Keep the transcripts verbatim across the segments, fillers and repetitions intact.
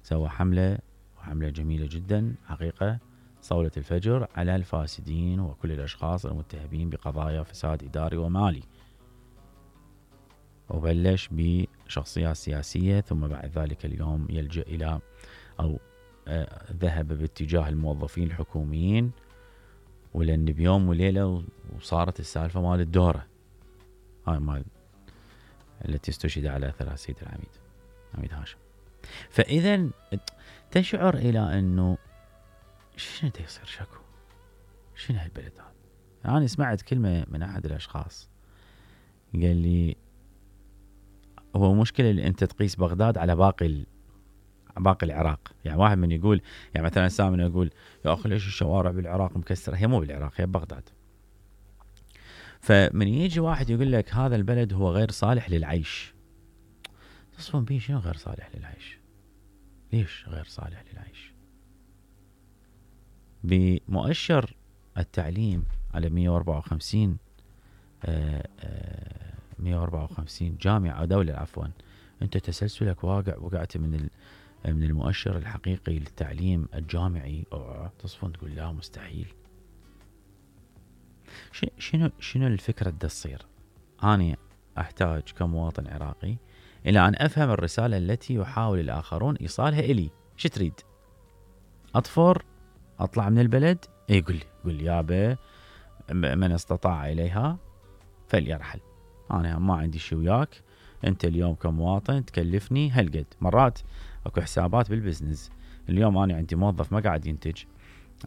سوى حملة وحملة جميلة جدا حقيقة صولة الفجر على الفاسدين وكل الأشخاص المتهمين بقضايا فساد إداري ومالي، وبلش بشخصيات سياسية، ثم بعد ذلك اليوم يلجأ إلى أو آه ذهب باتجاه الموظفين الحكوميين، ولأن بيوم وليلة وصارت السالفة مال الدورة هاي مال التي استشهد على أثرها السيد العميد عميد هاشم. فإذا تشعر إلى أنه شنو دا يصير شكو، شنو هالبلد هذا. أنا يعني سمعت كلمة من أحد الأشخاص قال لي هو مشكلة اللي أنت تقيس بغداد على باقي باقي العراق. يعني واحد من يقول يعني مثلا سامي يقول يا أخي ليش الشوارع بالعراق مكسرة، هي مو بالعراق هي ببغداد. فمن يجي واحد يقول لك هذا البلد هو غير صالح للعيش، تصفون بيه شنو غير صالح للعيش؟ ليش غير صالح للعيش؟ بمؤشر التعليم على مية وأربعة وخمسين آآ آآ مية وأربعة وخمسين جامعة أو دولة عفوا، أنت تسلسلك واقع وقعت من من المؤشر الحقيقي للتعليم الجامعي، تصفون تقول لا مستحيل. شنو شنو الفكرة دا تصير؟ أنا أحتاج كمواطن عراقي إلى أن أفهم الرسالة التي يحاول الآخرون إيصالها إلي. شو تريد؟ أطفر؟ أطلع من البلد؟ إيه قل لي قل لي يابا من استطاع إليها فليرحل، أنا ما عندي شي وياك. أنت اليوم كمواطن تكلفني هالقد. مرات أكو حسابات بالبزنس، اليوم أنا عندي موظف ما قاعد ينتج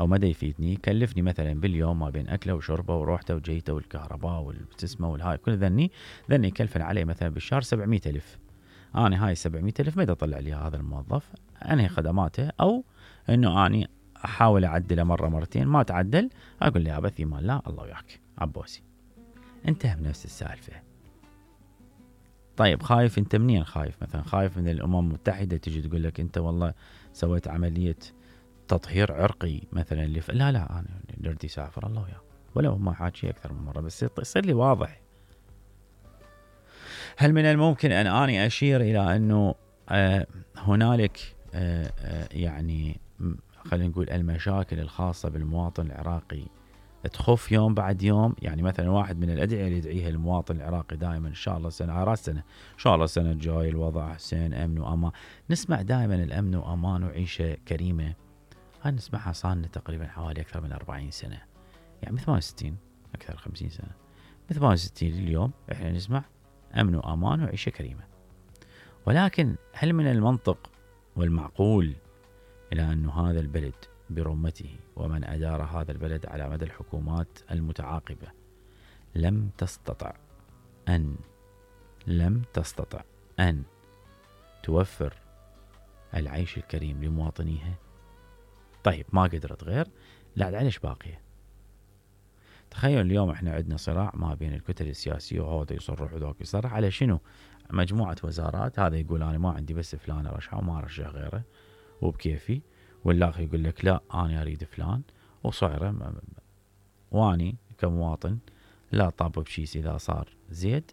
أو ما دا يفيدني، كلفني مثلا باليوم ما بين أكله وشربه وروحته وجيته والكهرباء والبتسمة والهاي كل ذني ذني كلفن عليه مثلا بالشهر سبعمية ألف. أنا هاي سبعمية ألف ما دا أطلع لي هذا الموظف أنهي خدماته، أو إنه أنا أحاول أعدله مرة مرتين ما تعدل أقول لي أبثي ما لا الله وياك عبوسي. انتهى بنفس السالفة. طيب خايف أنت منين؟ خايف مثلا خايف من الأمم المتحدة تجي تقول لك أنت والله سويت عملية تطهير عرقي مثلا اللي ف... لا لا أنا نردي سافر الله وياه، ولو ما حاكي أكثر من مرة بس يصير لي واضح. هل من الممكن أن أنا أشير إلى أنه آه هنالك آه آه يعني خلينا نقول المشاكل الخاصة بالمواطن العراقي تخف يوم بعد يوم؟ يعني مثلا واحد من الأدعية اللي يدعيها المواطن العراقي دائما إن شاء الله سنة على سنة إن شاء الله السنة الجاي الوضع أحسن أمن وأمان. نسمع دائما الأمن وأمان وعيشة كريمة، هاي نسمعها صار لنا تقريبا حوالي أكثر من أربعين سنة، يعني ثمانية وستين أكثر خمسين سنة من ثمانية وستين اليوم إحنا نسمع أمن وأمان وعيشة كريمة. ولكن هل من المنطق والمعقول إلى أن هذا البلد برمته ومن أدار هذا البلد على مدى الحكومات المتعاقبة لم تستطع أن لم تستطع أن توفر العيش الكريم لمواطنيها؟ طيب ما قدرت غير لا علاش باقية؟ تخيل اليوم احنا عندنا صراع ما بين الكتل السياسية وهذا يصرح وذاك يصرح على شنو؟ مجموعة وزارات، هذا يقول أنا ما عندي بس فلان أرشحه وما أرشح غيره وبكيفي، والآخر يقول لك لا أنا أريد فلان وصعره، واني كمواطن لا طاب بشيس إذا صار زيد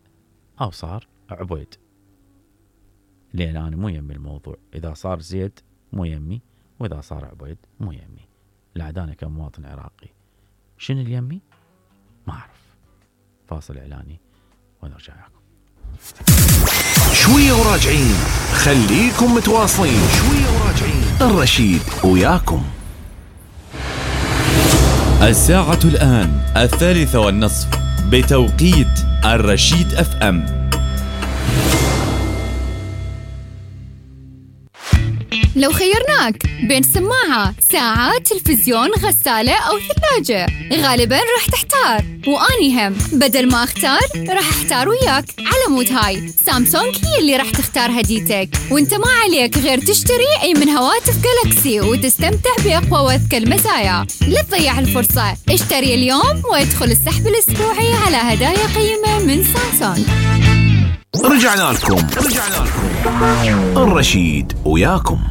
أو صار عبيد، لأن أنا مو يمي الموضوع. إذا صار زيد مو يمي، وإذا صار عبيد مو يمي. لا أنا كمواطن عراقي شنو اليمي؟ ما أعرف. فاصل إعلاني ونرجع لكم. شوية وراجعين، خليكم متواصلين. شوية وراجعين، الرشيد وياكم. الساعة الآن الثالثة والنصف بتوقيت الرشيد أف أم. لو خيرناك بين سماعة، ساعة، تلفزيون، غسالة أو ثلاجة، غالباً راح تحتار، وأني هم بدل ما أختار راح أحتار وياك. على مود هاي سامسونج هي اللي راح تختار هديتك، وانت ما عليك غير تشتري أي من هواتف جالاكسي وتستمتع بأقوى وأذكى المزايا. لا تضيع الفرصة، اشتري اليوم وادخل السحب الأسبوعي على هدايا قيمة من سامسونج. رجعنا لكم رجعنا لكم الرشيد وياكم.